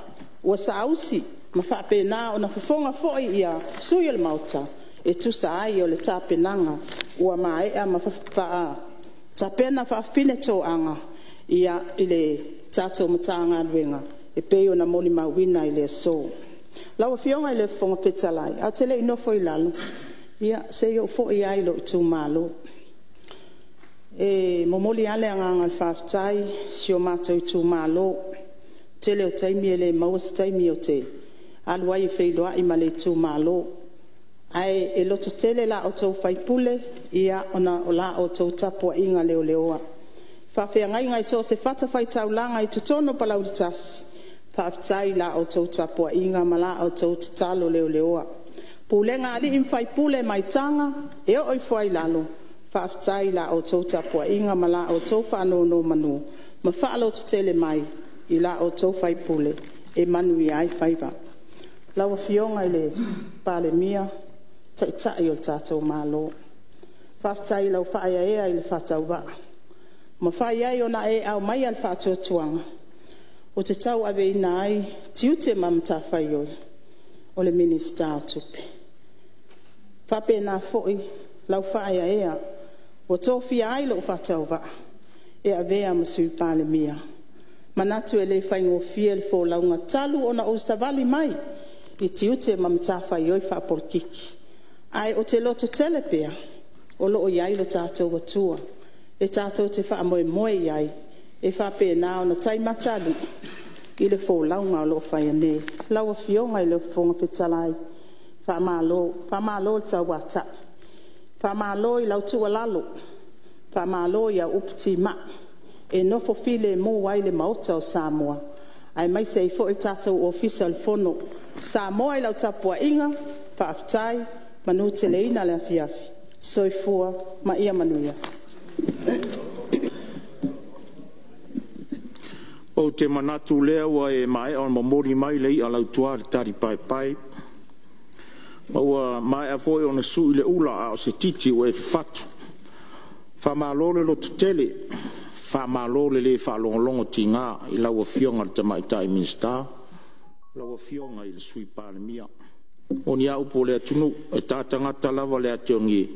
ua saausi ma faapena ona fofoga foi sui usufono o le Maota e tusa ai o le tapenaga ua maea ma tapena faafafine toaga i le tatou Matagaluega e pei ona molimauina i le aso. Lau Afioga i le Fofoga Fetalai ae ou te le i nofo i lalo, se i ou foi lava i lou itumalo. E momoli lava le agaga o le faafetai i si o matou itumalo. O le tele o taimi e le maua se taimi ou te alu ai e feiloai ma le itumalo, ae lototele la outou sui usufono ona o la outou tapuaiga leleoa. I faafeagaiga i so o se fatafaitaulaga i totonu o Palauli 1, faafetai i la outou tapuaiga ma la outou tatalo leleoa. Pulega a alii ma faipule mai Taga e oo i Foailalo, faafetai i la outou tapuaiga ma la outou faanonomanu ma faalototele mai i la outou sui usufono e manuia ai faiva. Lau Afioga i le Palemia, Taitai o le tatou Malo, faafetai i lau faaeaea i le faatauvaa ua mafai ai ona e aumaia le faatuatuaga ou te tauaveina ai tiute ma matafaioi o le Minisita o Tupe. E faapena foi lau faaeaea ua tofia ai lou faatauvaa e avea ma Sui Palemia. E manatu e le faigofie le folauga talu ona ou savali mai i tiute ma matafaioi faapolokiki, ae ou te lototele pea o lo o i ai lo tatou Atua e tatou te faamoemoe i ai e faapena ona taimata alii i le folauga o lo o faia nei. Lau Afioga i le Fofoga Fetalai, faamalo, faamalo le tauatai, faamalo i lau tuualalo, faamalo i au upu timai e nofo filemu ai le Maota o Samoa aemaise ai foi le tatou Ofisa o le Fono. Samoa i lau tapuaiga, faafetai, manuteleina le afiafi. Soifua ma ia manuia. Ou te manatu o lea ua e maea ona momoli mai le i'a lautua a le talipaepae, ma ua maea foi ona sui le ula a o se titi ua e fafatu. Faamalo le lototele, faamalo le le faalogologotiga i lau Afioga i le Tamaitai Minisita, lau Afioga i le Sui Palemia. E moni lava upu o le atunuu, e ta tagata lava le ati oge,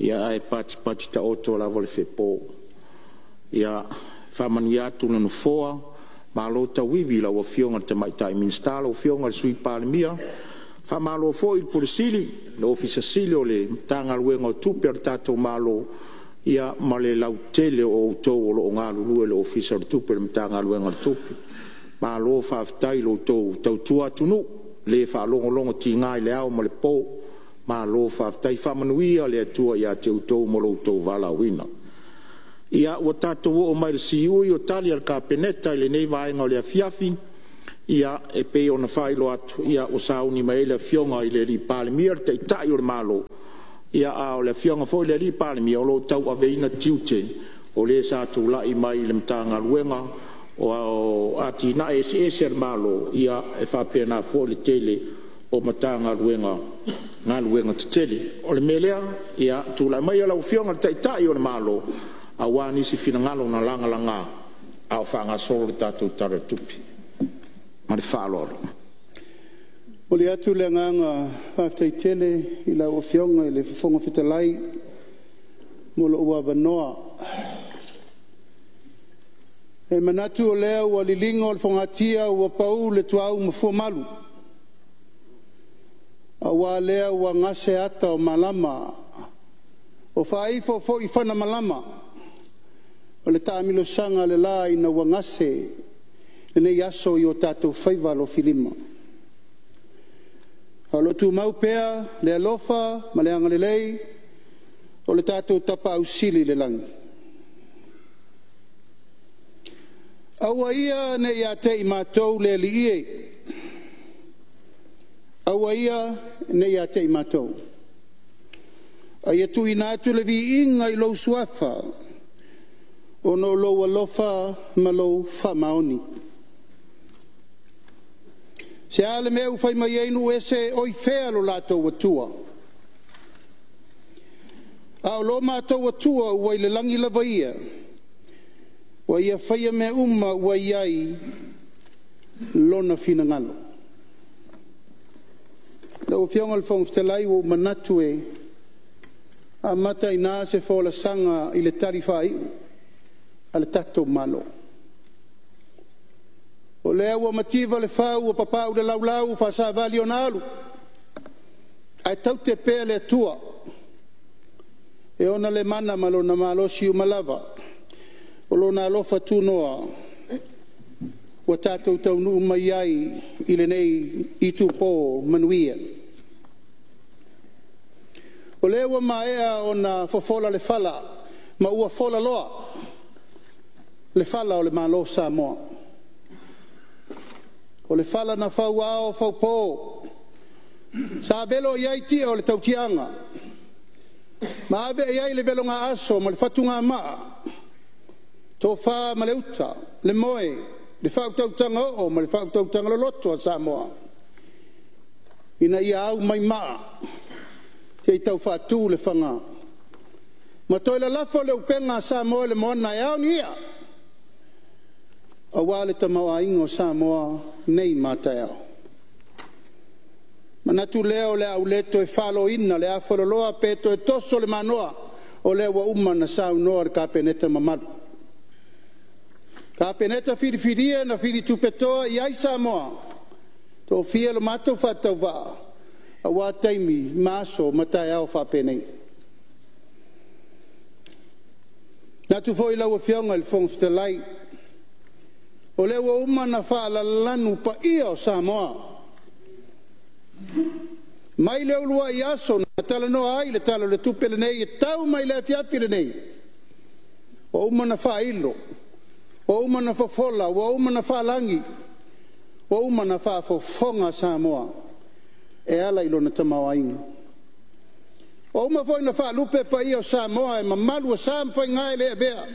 ae patipati taoto lava le fepo. Ia faamanuia atu le Nofoa, malo tauivi i lau Afioga i le Tamaitai Minisita, lau Afioga i le Sui Palemia. Faamalo foi i le Ofisa Sili o Pulega o le Matagaluega o Tupe a le tatou Malo, ia ma le lautele o outou o lo o galulue i le Ofisa o le Tupe, le Matagaluega o le Tupe. Malo faafetai i lo outou tautua atunuu, e le faalogologotiga i le ao ma le po. Malo faafetai. Faamanuia le Atua ia te outou mo lo outou valaauina. Ia, ua tatou oo mai i le siui o Tali a le Kapeneta i lenei vaega o le afiafi. Ia, e pei ona faailoa atu, ia ua sauni mai ai le Afioga i le Palemia, le Taitai o le Malo, ia a o le Afioga foi i le Palemia o lo o tauaveina tiute o le sa tulai mai i le Matagaluega o Atinae Eseese a le Malo, ia e faapena foi le tele o Matagaluega galuega tetele. O le mea lea, ia tulai maia lau Afioga i le Taitai o le Malo aua nisi finagalo na lagalaga a o faagasolo le tatou Tala o le Tupe. Ma le faaaloalo. Momoli atu le agaga faafetai tele i lau Afioga i le Fofoga Fetalai mo lou avanoa. E manatu o lea ua liligo le fogatia ua pau le tuaau ma fuamalu, aua lea ua gase ata o malama, o faaifo foi fana malama o le taamilosaga le la ina ua gase lenei aso i o tatou faiva alofilima. A o lo o tumau pea le alofa ma le agalelei o le tatou Tapaau Sili i le lagi. Aua ia ne i ia te i matou le Alii e, aua ia ne i ia te i matou, a ia tuuina atu le viiga i lou Suafa, ona o lou alofa ma lou faamaoni. Se a le mea ua fai mai ai nuu ese, oi fea lo latou Atua? A o lo matou Atua ua i le lagi lava ia, ua ia faia mea uma ua i ai lona finagalo. Lau Afioga i le Fofoga Fetalai, ua ou manatu e amata i ina se folasaga i le tali faaiu a le tatou Malo. O lea ua mativa le fau ua papau le laulau ua faasavali ona alu, ae taute pea le Atua e ona le mana ma lona malosi uma lava, o lona alofa tunoa ua tatou taunuu mai ai i lenei itupo manuia. O lea ua maea ona fofola le fala ma ua folaloa le fala o le Malo o Samoa. O le fala na fauao faupo, sa velo i ai tia o le tautiaga, ma ave i ai le velogaaso ma le fatugamaa, tofa ma le uta, le moe, le faautautaga oo ma le faautautaga loloto a Samoa, ina ia au mai maa se i tau faatu le faga, ma toe lalafo le upega a Samoa i le moana e ao ni i'a, aua le tamaoaiga o Samoa nei ma a taeao. Manatu lea o le a ou le toe faloina le afaloloa pe toe toso le manoa, o lea ua uma ona saunoa le Kapeneta mamalu. Kapeneta filifilia na filitupetoa i ai Samoa, tofia lo matou faatauvaa, aua taimi ma aso ma taeao faapenei. Manatu foi lau Afioga i le Fofoga Fetalai, o lea ua uma ona faalalanu paia o Samoa, mai le uluai aso na talanoa ai le Tala o le Tupe lenei e tau mai le afiafi lenei, ua uma ona faailo, ua uma ona fofola, ua uma ona faalagi, ua uma ona faafofoga Samoa e ala i lona tamaoaiga. Ua uma foi ona faalupe paia o Samoa e mamalu o sa ma faiga e le avea,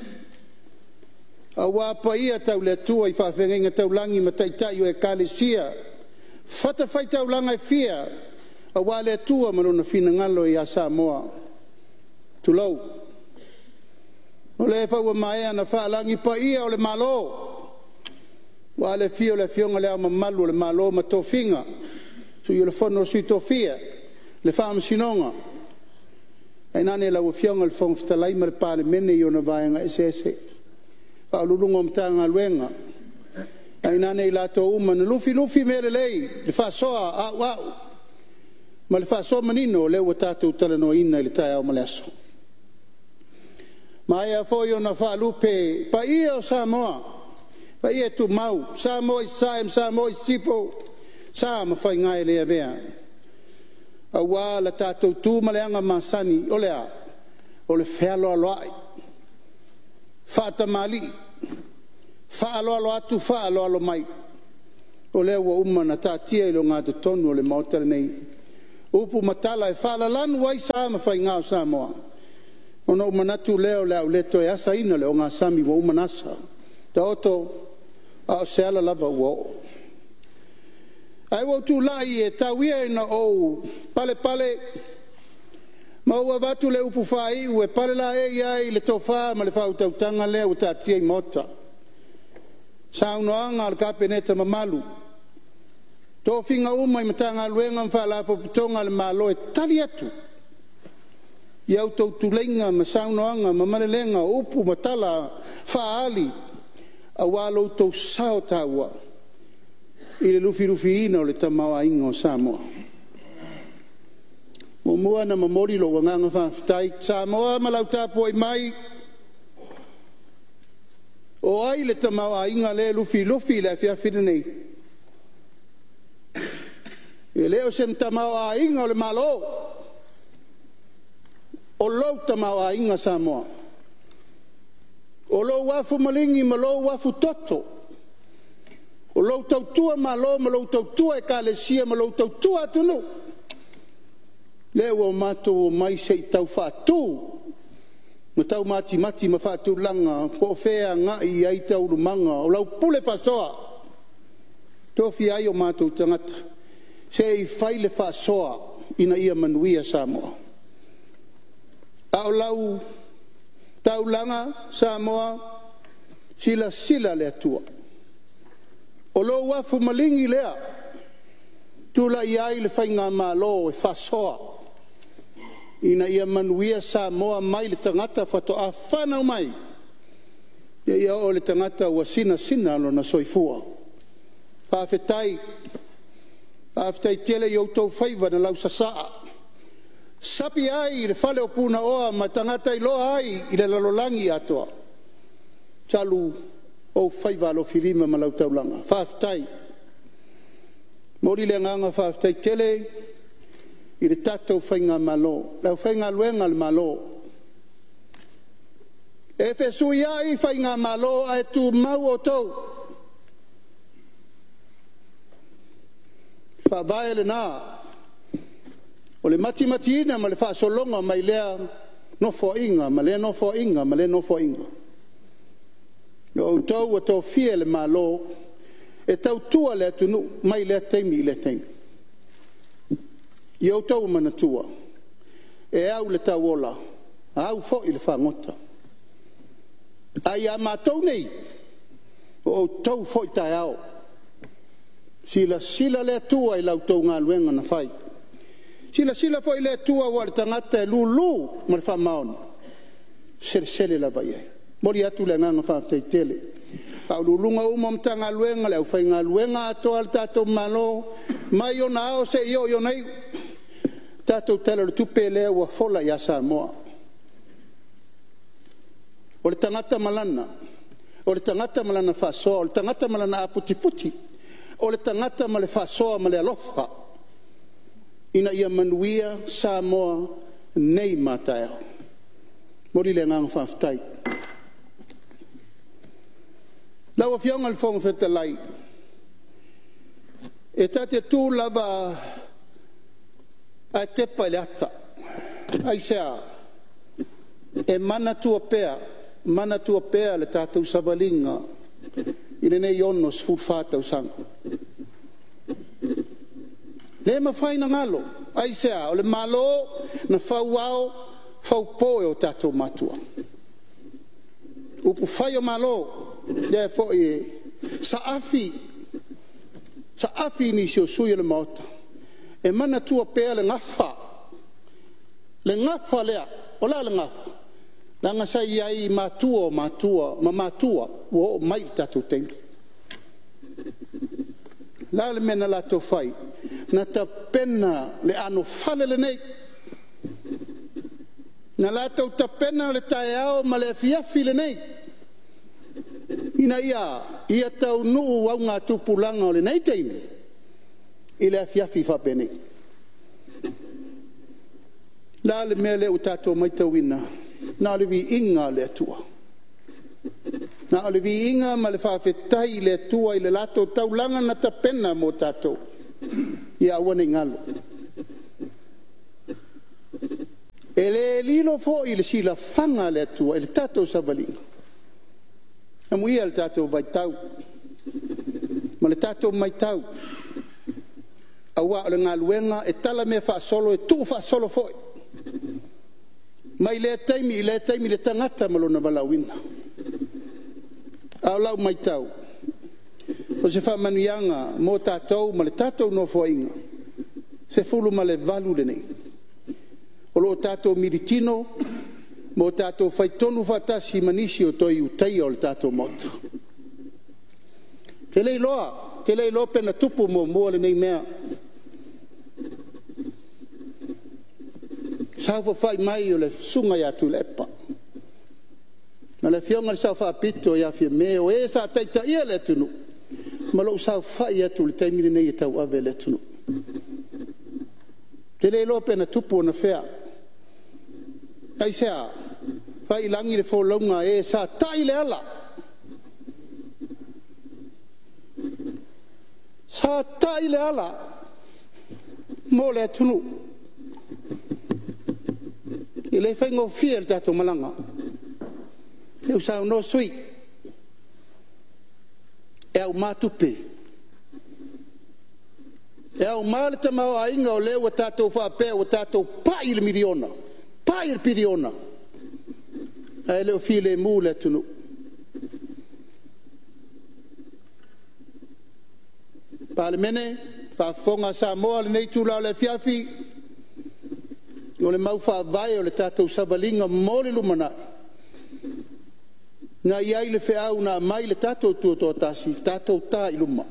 aua paia tau le Atua i faafeagaiga taulagi ma taitai o Ekalesia, fatafaitaulaga e fia, aua le Atua ma lona finagalo ia Samoa. Tulou. O lea foi ua maea ona faalagi paia o le Malo, ua le afio le Afioga i Le Ao Mamalu o le Malo ma tofiga, Sui o le Fono a Sui Tofia, le Faamasinoga, tainane lau Afioga i le Fofoga Fetalai ma le Palemene i ona vaega eseese, Faauluuluga o Matagaluega, tainane i latou uma na lufilufi mea lelei, le faasoa auau ma le faasoa manino o lea ua tatou talanoaina i le taeao ma le aso. Maea foi ona faalupe paia o Samoa, paia tumau, Samoa i Sasae ma Samoa i Sisifo, sa ma faiga e le avea, aua la tatou tu ma le aga masani, o le a? O le fealoaloai. Faatamalii, faaaloalo atu, faaaloalo mai, o lea ua uma ona taatia i le ogatotonu o le Maota lenei upu ma tala e faalalanu ai sa ma faiga o Samoa, ona ou manatu lea o le a ou le toe asaina le ogasami ua uma ona asa. Taoto a o se ala lava ua oo. Ae ua ou tulai e tau ia ina ou palepale ma ou avatu le upu faaiu e palelaei ai le tofa ma le faautautaga lea ua taatia i maota, saunoaga a le Kapeneta mamalu, tofiga uma i Matagaluega ma Faalapotopotoga a le Malo e tali atu i a outou tuleiga ma saunoaga ma malelega, o upu ma tala faaali aua lo outou sao taua i le lufilufiina o le tamaoaiga o Samoa. E muamua ona momoli lou agaga faafetai, Samoa ma lau tapuai mai, o ai le tamaoaiga lea e lufilufi i le afiafi lenei? E le o se tamaoaiga o le Malo, o lou tamaoaiga Samoa. O lou afu maligi ma lou afutoto, o lou tautua Malo ma lou tautua Ekalesia ma lou tautua atunuu, lea ua matou omai se i tau faatu ma tau matimati ma faatulaga po o fea e agai i ai taualumaga o lau pule faasoa, e tofia ai o matou tagata se i fai le faasoa ina ia manuia Samoa. A o lau taulaga Samoa, silasila le Atua, o lou afu maligi lea, tulai ai le Faigamalo e faasoa, ina ia manuia Samoa mai le tagata faatoa fanau mai, seia oo i le tagata ua sinasina lona soifua. Faafetai, faafetai tele i outou faiva na lausasaa, sapi ai i le fale o Punaoa ma tagata iloa ai i le lalolagi atoa, talu ou faiva alofilima ma lau taulaga. Faafetai. E momoli le agaga faafetai tele i le tatou Faigamalo, le aufaigaluega a le Malo. E fesuiai Faigamalo ae tumau outou. O le faavae lena o le matimatiina ma le faasologa mai lea Nofoaiga ma lea Nofoaiga ma lea Nofoaiga. O outou ua tofia e le Malo e tautua le atunuu mai lea taimi i lea taimi. Ia outou manatua, e au i le tauola, au foi i le fagota. Ae ia matou nei, o outou foi taeao. Silasila le Atua i la outou galuega na fai. Silasila foi le Atua aua o le tagata e lulu ma le faamaoni, e selesele lava i ai. E momoli atu le agaga faafetai tele i Ofisa Sili o Pulega uma o Matagaluega, le aufaigaluega atoa a le tatou Malo mai ona ao seia oo i ona iu, le tatou Tala o le Tupe lea ua fola ia Samoa. O le tagata ma lana, o le tagata ma lana faasoa, o le tagata ma lana aputiputi, o le tagata ma le faasoa ma le alofa ina ia manuia Samoa nei ma a taeao. E momoli le agaga faafetai. Lau Afioga i le Fofoga Fetalai, e ta te tu lava ae tepa i le ata. Aisea? E manatua pea, manatua pea le tatou savaliga i lenei 64 tausaga. E le mafai ona galo. Aisea? O le Malo na fau ao, fau po e o tatou matua. Upufai o Malo, lea foi e saafi, saafi i nisi o sui usufono o le Maota, e manatua pea le gafa, le gafa lea. O le a le gafa? Leaga sa i ai i matua o matua ma matua ua oo mai i le tatou taimi. O le a le mea na latou fai? Na tapena le anofale lenei, na latou tapena le taeao ma le afiafi lenei, ina ia a? Ia taunuu augatupulaga o lenei taimi i le afiafi faapenei. O le a le mea lea ua tatou matauina? Na o le viiga o le Atua. Na o le viiga ma le faafetai i le Atua i le latou taulaga na tapena mo tatou, ia aua ne i galo. E le lilo foi i le silafaga a le Atua i le tatou savaliga, amuia le tatou vaitau ma le tatou matau, aua o le galuega e talamea faasolo e tuu faasolo foi, mai lea taimi i lea taimi le tagata ma lona valaauina. A o lau matau, o se faamanuiaga mo tatou ma le tatou Nofoaiga 18 lenei, o lo o tatou militino ma o tatou faitonu faatasi ma nisi o Toe Ulutaia o le tatou Maota. Ou te le iloa pe na tupu muamua lenei mea, saofafai mai o le Susuga ia Tuilaepa ma le Afioga i le Sao Faapito ia Fiame, o e sa taitaia le atunuu, ma lou saofai atu i le taimi lenei e tauave le atunuu. Ou te le iloa pe na tupu anafea. Aisea? Fai i lagi le folauga a e sa tai le ala, sa tai le ala mo le atunuu. E le faigofie le tatou malaga. O lea ua saunoa sui usufono, e auma tupe, e auma le tamaoaiga o lea ua tatou faapea ua tatou pai i le miliona, pai i le piliona, ae le o filemu le atunuu. Palemene, faafofoga a Samoa i lenei itula o le afiafi, o le mau faavae o le tatou savaliga mo le lumanai, na i ai le feau na aumai i le tatou Tutoatasi, tatou ta i luma.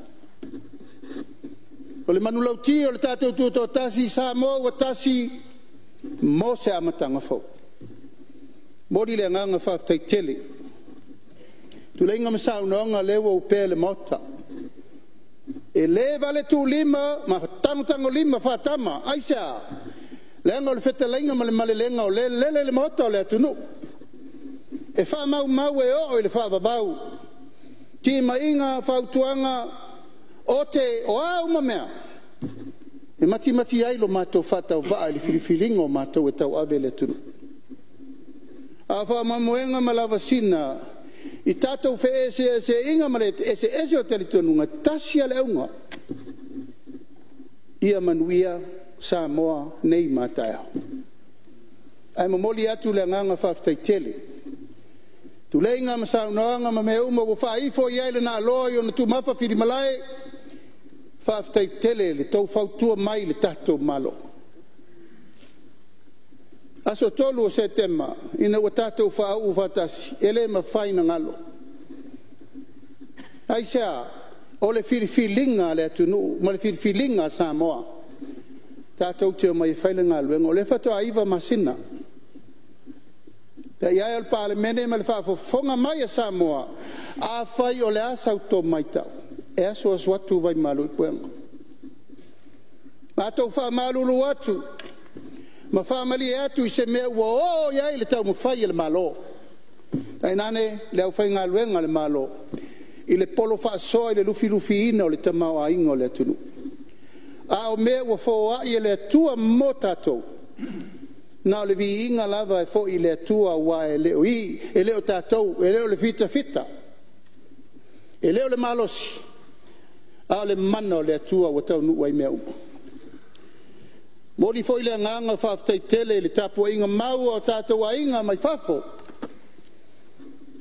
O le manulauti o le tatou Tutoatasi, Samoa ua tasi mo se amataga fou. E momoli le agaga faafetai tele i tuleiga ma saunoaga o lea ua opea i le Maota. E le valetuulima ma tagotagolima faatama. Aisea? Leaga o le fetalaiga ma le malelega o lea e lele i le Maota o le atunuu. E faamaumau e oo i le faavavau, timaiga, fautuaga, ote, o a uma mea, e matimati ai lo matou faatauvaa i le filifiliga o matou e tauave le atunuu. A o faamoemoega ma lavasiga i tatou feeseeseaiga ma le eseese o talitonuga, e tasi lava le auga, ia manuia Samoa nei ma a taeao. Ae momoli atu le agaga faafetai tele i tuleiga ma saunoaga ma mea uma ua faaifo i ai le naaloa i ona tumafa filimalae, faafetai tele i le tou fautua mai i le tatou Malo. Aso 3 o Setema ina ua tatou faauu faatasi, e le mafai ona galo. Aisea? O le filifiliga a le atunuu ma le filifiliga a Samoa tatou te omai e fai le galuega. O lea faatoa 9 masina. Le paia e o le Palemene ma le faafofoga mai a Samoa, afai o le a sa outou matau, e asuasu atu vai malu i puega. Matou faamalulu atu ma faamalie atu i se mea ua oo i ai le taumafai a le Malo, tainane le aufaigaluega a le Malo i le polo faasoa i le lufilufiina o le tamaoaiga o le atunuu. A o mea ua foai e le Atua mo tatou, na o le viiga lava e foi i le Atua, aua e le o i, e le o tatou, e le o le fitafita, e le o le malosi, a o le mana o le Atua ua taunuu ai mea uma. Momoli foi le agaga faafetai tele i le tapuaiga mau a o tatou aiga mai fafo,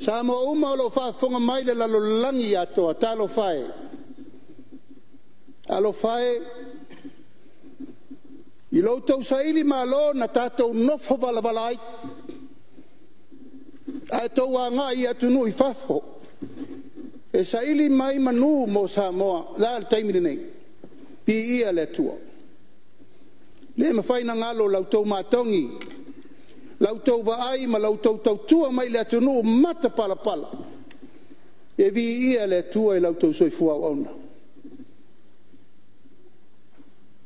Samoa uma o lo o faafofoga mai i le lalolagi atoa, talofa e, talofa e i lo outou sailimalo na tatou nofo valavala ai, ae outou agai i atunuu i fafo e saili mai manu mo Samoa. O le a le taimi lenei? Viia le Atua. E le mafai ona galo la outou matogi, la outou vaai ma la outou tautua mai i le atunuu matapalapala. E viia le Atua i la outou soifua auauna.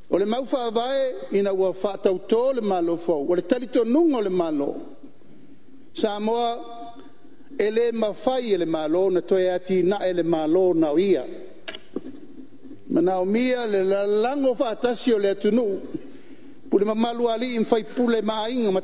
O le mau faavae ina ua faatauto le Malo fou, o le talitonuga o le Malo, Samoa E le mafai e le Malo ona toe atinae le Malo na o ia. Manaomia le lalago faatasi o le atunuu, pule mamalu a alii ma faipule ma aiga ma